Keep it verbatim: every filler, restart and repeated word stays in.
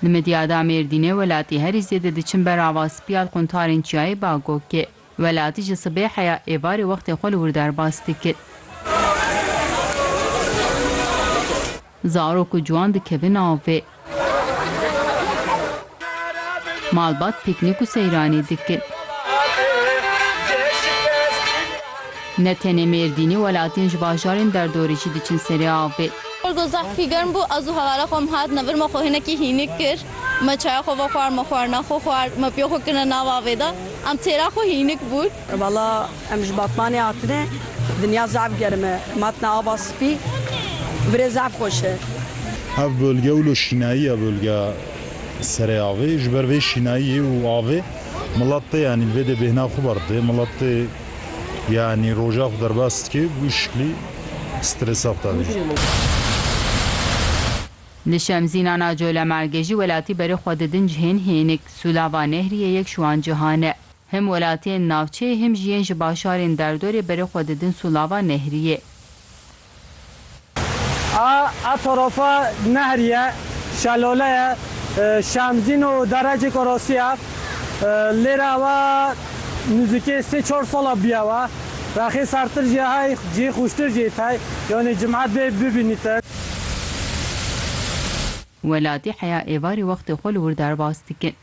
Li Midyada Mêrdînê welatî herî zêde diçin ber ava spî ya li quntarên Çiyayê Bagokê. Welatî ji sibê heya êvarê wextê xwe li wir derbas dikin. Zarok û ciwan dikevin avê. Malbat pîknîk û seyranê dikin. Ne tenê Mêrdînê, welatiyên ji bajarên derdorê jî diçin serê avê. Xwe zehfî germ bû, ez û hevala xwe em hatin vir, me xwe hinekî hînik kir. Me çaya xwe vexwar, me xwarina xwe xwar, me piya xwe kirine nav avê de. Em têra xwe hînik bûn. Valla em ji Batmanê hatine, dinya zehf germ e. Em hatine ava spî, virê zehf xweş e. Ev bölge wilo şînayî ye, bölge serê avê. Ji ber vê şînayiyê û avê milet tê, yanî li vê de bêhna xwe berdê. Milet tê, yanî roja xwe derbas dike, bi wî şiklî stresa xwe tavê. Li Şemzîna Nacolemergê jî welatî berê xwe didin cihên hênik. Sûlava Nehriyê yek ji wan cihan e. Him welatiyên navçeyê, him jî yên ji bajarên derdorê berê xwe didin Sûlava Nehriyê. A, a tarafa nehrî ye, şelale ye, e, Şemzîn û derecek arasî ye. E, lêre ewa nizikê sê çar sala bûye we. Rexê sertir jî hey, cihê xweştir jî hey. Yanî cimet bê bibînîtin. Welatî heya êvarê wextê xwe li wir derbas dikin.